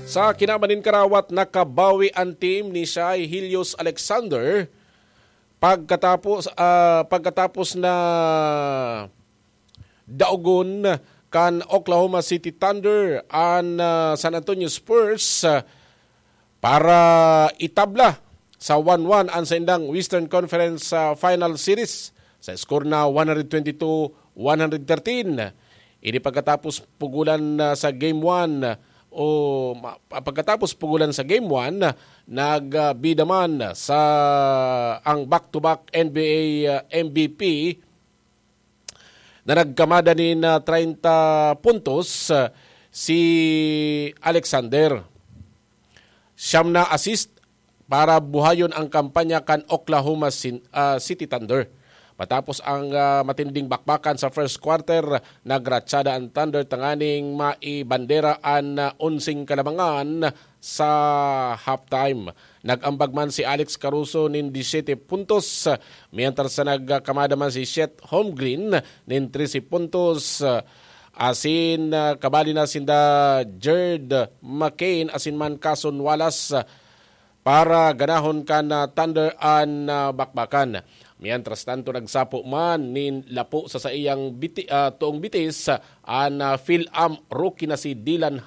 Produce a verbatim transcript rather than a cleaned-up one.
Sa kinaban nin karawat, nakabawi an team ni Shai Helios Alexander pagkatapos ah, pagkatapos na daogon kan Oklahoma City Thunder an ah, San Antonio Spurs ah, para itabla sa one one an saindang Western Conference ah, Final Series sa score na one twenty-two one thirteen. Ini pagkatapos pugulan ah, sa Game one o ma- pagkatapos pugulan sa Game one, nagbida man sa ang back-to-back N B A ah, M V P na nagkamada nin ah, treinta puntos ah, si Alexander. Siyam na assist para buhayon ang kampanya kan Oklahoma Sin- ah, City Thunder. Matapos ang ah, matinding bakbakan sa first quarter, nagratsada ang Thunder tanganing maibandera an ah, onseng kalamangan sa halftime. Nag-ambag man si Alex Caruso nin disiyete puntos, mientras na nagkamada man si Chet Holmgren nin trese puntos. Asin ah, kabali na sinda Jared McCain asin man Cason Wallace para ganahon kan ah, Thunder an ah, bakbakan. Mientras tanto, nagsapo man nin lapo sa saiyang biti, ah, toong bitis an ah, Phil-Am rookie na si Dylan